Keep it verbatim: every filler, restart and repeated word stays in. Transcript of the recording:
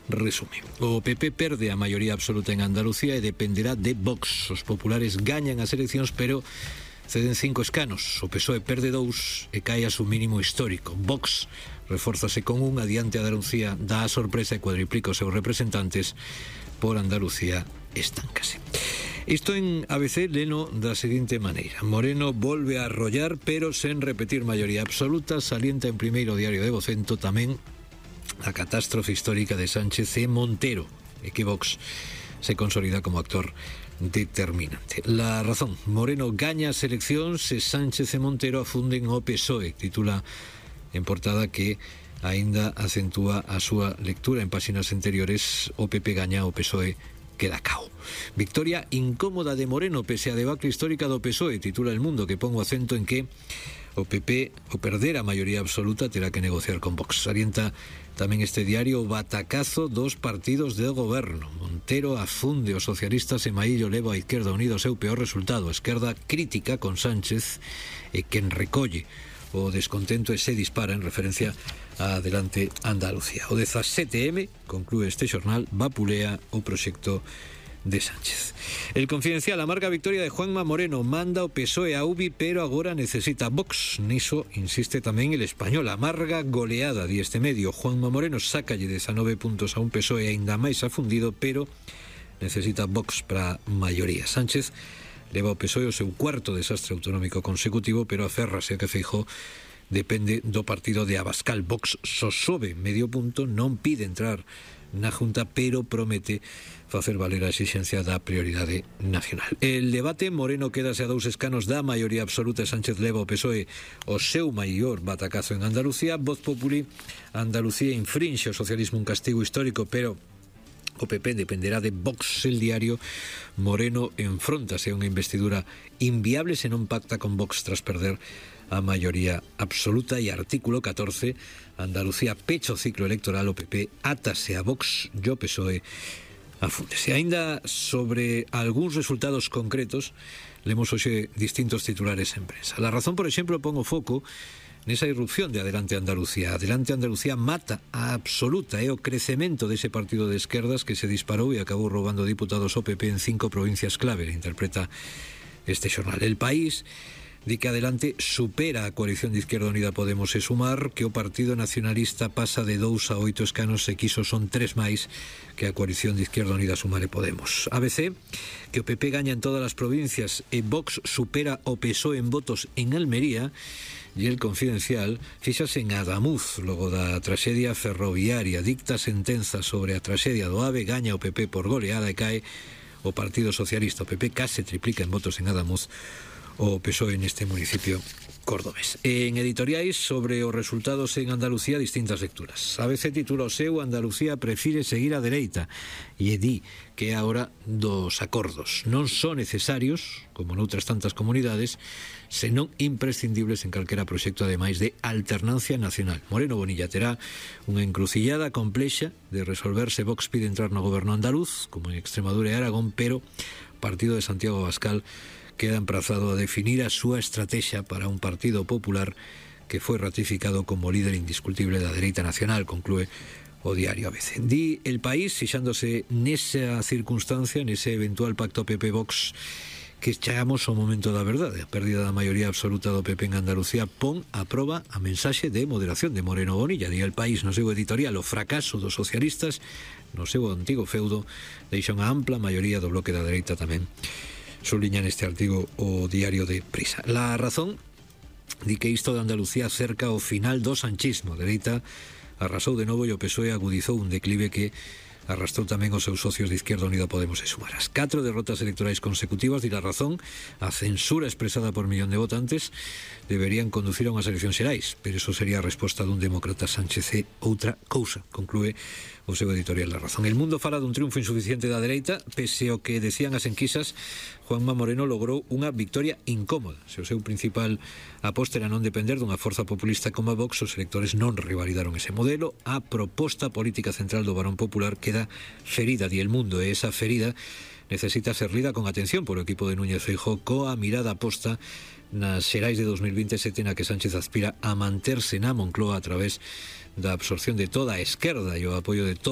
Resume. O P P perde a maioría absoluta en Andalucía e dependerá de Vox. Os populares gañan as eleccións, pero ceden cinco escanos. O P S O E perde dous e cae a su mínimo histórico. Vox refórzase con un, adiante a Andalucía dá a sorpresa e cuadriplica os seus representantes. Por Andalucía estancase. Isto en A B C leno da seguinte maneira: Moreno volve a arrollar, pero sen repetir maioría absoluta. Salienta en primeiro diario de Vocento tamén a catástrofe histórica de Sánchez e Montero, e que Vox se consolida como actor determinante. La Razón: Moreno gaña as eleccións e Sánchez e Montero afunden o P S O E. Titula en portada que aínda acentúa a súa lectura en páxinas anteriores. O P P gaña, o P S O E queda cao. Victoria incómoda de Moreno pese a debacle histórica do P S O E. Titula El Mundo, que pon o acento en que o P P, o perder a maioría absoluta, terá que negociar con Vox. Salienta tamén este diario o batacazo dos partidos de goberno. Montero afunde os socialistas e Maillo leva a Izquierda Unida o seu peor resultado. A esquerda crítica con Sánchez e quen recolle o descontento e se dispara en referencia a Adelante Andalucía. O dezasete eme, conclúe este xornal, vapulea o proxecto de Sánchez. El Confidencial: amarga victoria de Juanma Moreno, manda o P S O E a U B I, pero agora necesita Vox. Niso insiste tamén El Español: amarga goleada, di este medio. Juanma Moreno sácalle dezanove puntos a un P S O E aínda máis afundido, pero necesita Vox para maioría. Sánchez leva o P S O E o seu cuarto desastre autonómico consecutivo, pero aférrase a que Feijóo depende do partido de Abascal. Vox só sobe medio punto, non pide entrar na Junta, pero promete facer valer a exixencia da prioridade nacional. El debate: Moreno quedase a dous escanos da maioría absoluta e Sánchez leva o P S O E o seu maior batacazo en Andalucía. Voz Populi: Andalucía infrinxe o socialismo un castigo histórico, pero o P P dependerá de Vox. El Diario: Moreno enfróntase a unha investidura inviable se non pacta con Vox tras perder a maioría absoluta. E artículo catorce: Andalucía pecha o ciclo electoral, o P P átase a Vox e o P S O E afúndese. Ainda sobre algúns resultados concretos, lemos hoxe distintos titulares en prensa. La Razón, por exemplo, pon o foco nesa irrupción de Adelante Andalucía. Adelante Andalucía mata a absoluta e o crecemento dese partido de esquerdas que se disparou e acabou roubando diputados ao P P en cinco provincias clave, interpreta este xornal. El País di que Adelante supera a coalición de Izquierda Unida Podemos e Sumar, que o Partido Nacionalista pasa de dous a oito escanos e que iso son tres máis que a coalición de Izquierda Unida, Sumar e Podemos. A B C: que o P P gaña en todas as provincias e Vox supera o P S O E en votos en Almería. E El Confidencial: fíxase en Adamuz, logo da traxedia ferroviaria, dicta sentenza sobre a traxedia do AVE, gaña o P P por goleada e cae o Partido Socialista. O P P case triplica en votos en Adamuz o P S O E neste municipio cordobés. En editoriais sobre os resultados en Andalucía, distintas lecturas. A B C titula o seu: Andalucía prefire seguir a dereita, e di que é a hora dos acordos. Non son necesarios, como noutras tantas comunidades, senón imprescindibles en calquera proxecto, ademais de alternancia nacional. Moreno Bonilla terá unha encrucillada complexa de resolverse. Vox pide entrar no goberno andaluz, como en Extremadura e Aragón, pero o partido de Santiago Abascal queda emprazado a definir a súa estrategia para un Partido Popular que foi ratificado como líder indiscutible da dereita nacional, conclúe o diario A B C. Di El País, fixándose nesa circunstancia, nese eventual pacto P P-Vox, que chegamos ao momento da verdade. A pérdida da maioría absoluta do P P en Andalucía pon a proba a mensaxe de moderación de Moreno Bonilla. Di El País no seu editorial: o fracaso dos socialistas no seu antigo feudo deixa unha ampla maioría do bloque da dereita tamén. Subliña neste artigo o diario de Prisa. La Razón di que isto de Andalucía cerca o final do sanchismo. A dereita arrasou de novo e o P S O E agudizou un declive que arrastrou tamén os seus socios de Izquierda Unida Podemos e Sumar. As catro derrotas electorais consecutivas, di La Razón, a censura expresada por millón de votantes, deberían conducir a unhas eleccións xerais, pero iso sería a resposta dun demócrata. Sánchez é outra cousa, conclúe o seu editorial La Razón. El Mundo fala dun triunfo insuficiente da dereita, pese ao que decían as enquisas. Juanma Moreno logrou unha victoria incómoda. Se o seu principal aposta era non depender dunha forza populista como a Vox, os electores non rivalidaron ese modelo. A proposta política central do Barón Popular queda ferida, di El Mundo, e esa ferida necesita ser lida con atención por o equipo de Núñez Feijóo, coa mirada posta nas xerais de dos mil veintesete, na que Sánchez aspira a manterse na Moncloa a través da absorción de toda a esquerda e o apoio de todo